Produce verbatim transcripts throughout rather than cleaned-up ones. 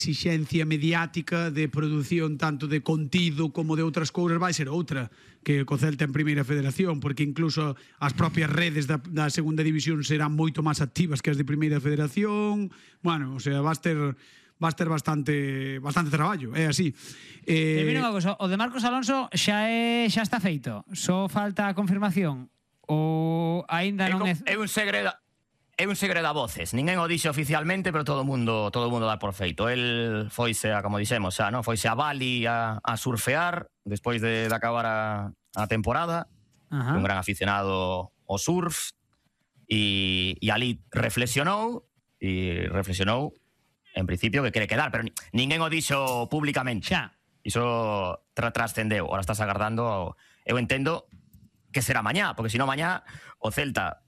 exixencia mediática de produción tanto de contido como de outras cousas vai ser outra que co Celta en Primeira Federación, porque incluso as propias redes da, da Segunda División serán moito máis activas que as de Primeira Federación. Bueno, o sea, vas ter vas ter bastante bastante traballo, é así. Eh, eh, mira unha cosa, o de Marcos Alonso xa é xa está feito, só falta a confirmación ou aínda non é... É un segredo... É un segredo a voces, ninguén o dixe oficialmente, pero todo o mundo todo o mundo dá por feito. El foise a, como dixemos, xa, no? Foise a Bali a, a surfear despois de, de acabar a, a temporada. Ajá. Un gran aficionado ao surf e, e ali reflexionou e reflexionou en principio que quere quedar, pero ninguén o dixo públicamente. Xa. Iso tra trascendeu. Ahora estás agardando, eu entendo que será mañá, porque se non mañá o Celta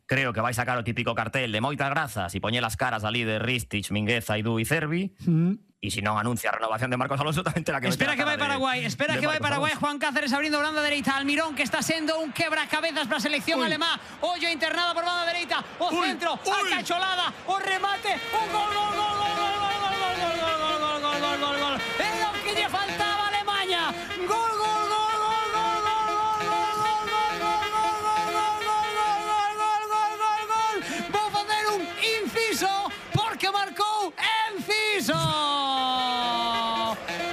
creo que vai sacar o típico cartel de moitas grazas e poñer as caras ali de Ristich, Mingueza, Idú e Cervi. Mm. E se non anuncia a renovación de Marcos Alonso tamén terá que meter espera que vai Paraguai, espera que vai Paraguai. Juan Cáceres abrindo banda dereita, Almirón que está sendo un quebracabezas para a selección alemá. Ollo internada por banda dereita, o centro, a cacholada, o remate, un gol, gol, gol, gol, gol, gol, gol, gol, gol, gol, gol, gol, gol, gol. É o que lle faltaba a Alemania. Gol, gol, gol. Porque marcou Enciso.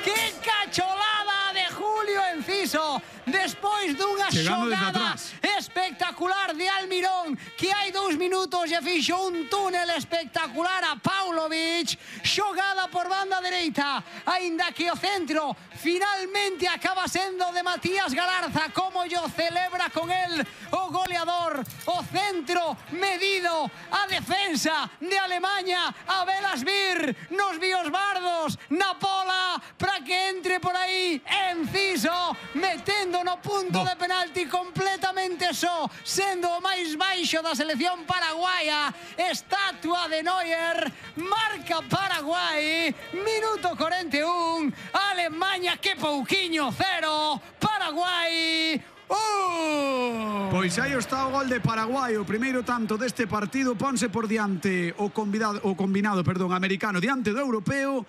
Que cacholada de Julio Enciso despois dunha xogada espectacular de Almirón, que hai dous minutos e fixo un túnel espectacular a Paulovic. Xogada por banda dereita, aínda que o centro finalmente acaba sendo de Matías Galarza. Como yo celebra con el o goleador. O centro medido, a defensa de Alemania, a velas vir nos biosbardos, na pola, para que entre por aí Enciso, metendo no punto de penalti completamente só, sendo o máis baixo da selección paraguaya. Estatua de Neuer, marca Paraguai, minuto cuarenta y uno, Alemania que pouquiño, cero, Paraguai Uh. Pois aí está o gol de Paraguai, o primeiro tanto deste partido. Ponse por diante o convidado, o combinado, perdón, americano diante do europeo.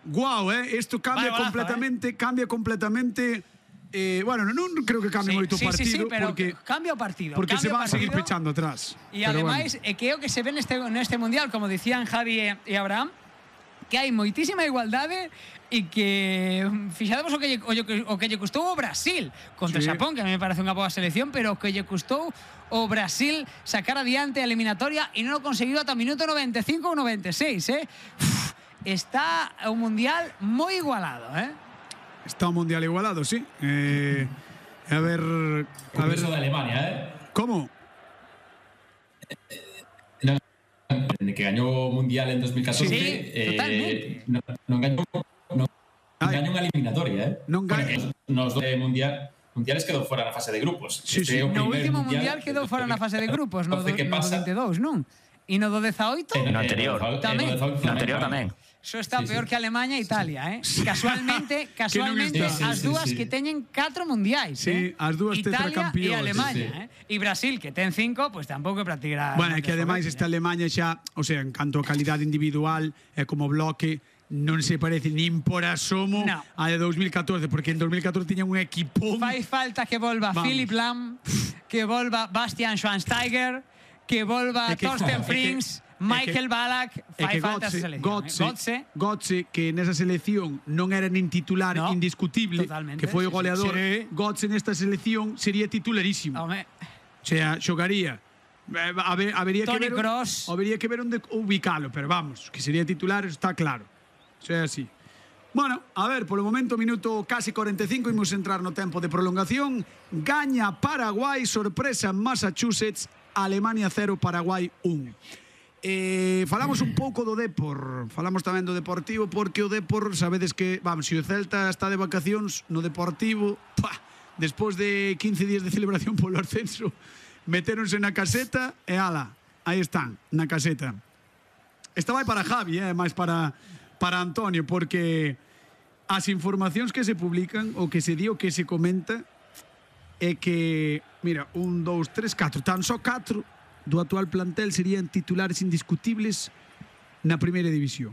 Guau, eh, isto cambia golazo, completamente, eh? cambia completamente. Eh, bueno, non creo que cambie sí, moito o sí, partido, sí, sí, pero porque cambia o partido. Porque se van a seguir partido, pechando atrás. E ademais, bueno, é que é o que se ve neste neste mundial, como dicían Javi e Abraham, que hai moitísima igualdade e que fixademos o que lle, o, o que lle custou o Brasil contra sí. Xapón, que a mí me parece unha boa selección, pero o que lle custou o Brasil sacar adiante a eliminatoria e non o conseguiu ata o minuto noventa e cinco ou noventa e seis, eh? Uf, está un mundial moi igualado, eh? Está un mundial igualado, sí. Eh, a ver, a ver eso de Alemania, eh? ¿Cómo? Que gañou o mundial en dos mil catorce, sí, eh, totalmente. non, non gañou non, non gañou unha eliminatoria, eh? Non gañou. Nos do mundial mundiales quedou fora na fase de grupos. Sí, sí. No último mundial, mundial quedou fora na fase de grupos, no, do, no do vinte e dous, non? E no do dezaoito? Eh, no anterior. Tamén. No anterior tamén. Eso está sí, peor sí. que Alemania e Italia, eh? Casualmente, casualmente sí, sí, as dúas sí, sí. que teñen catro mundiais, sí, eh? as dúas Italia e Alemania, sí, sí. eh? E Brasil que ten cinco, pois pues, tampouco é para tirar. Bueno, é que ademais esta Alemania xa, o sea, en canto a calidade individual e como bloque, non se parece nin por asomo no. a de dos mil catorce, porque en dos mil catorce tiña un equipón. Fai falta que volva Vamos. Philipp Lahm, que volva Bastian Schweinsteiger, que volva que, Thorsten Frings, Michael que, Ballack, fai falta esa selección. Götze, eh? Götze, Götze, que nesa selección non era nin titular no, indiscutible, totalmente, que foi o goleador. Sí. Götze nesta selección sería titularísimo. Home. O sea, xogaría. A ver, habería Tony que ver, Kroos. Habería que ver onde ubicalo, pero vamos, que sería titular, está claro. O sea, así. Bueno, a ver, polo momento, minuto casi cuarenta y cinco, imos entrar no tempo de prolongación. Gaña Paraguai, sorpresa en Massachusetts, Alemania cero, Paraguai un. Eh, falamos un pouco do Depor, falamos tamén do Deportivo, porque o Depor, sabedes que, vamos, se o Celta está de vacacións no Deportivo, pah, despois de quince días de celebración polo ascenso, metéronse na caseta e ala, aí están, na caseta. Esta vai para Javi, eh, máis para, para Antonio, porque as informacións que se publican, o que se di, o que se comenta, é que, mira, un, dous, tres, catro, tan só catro do actual plantel serían titulares indiscutibles na primeira división.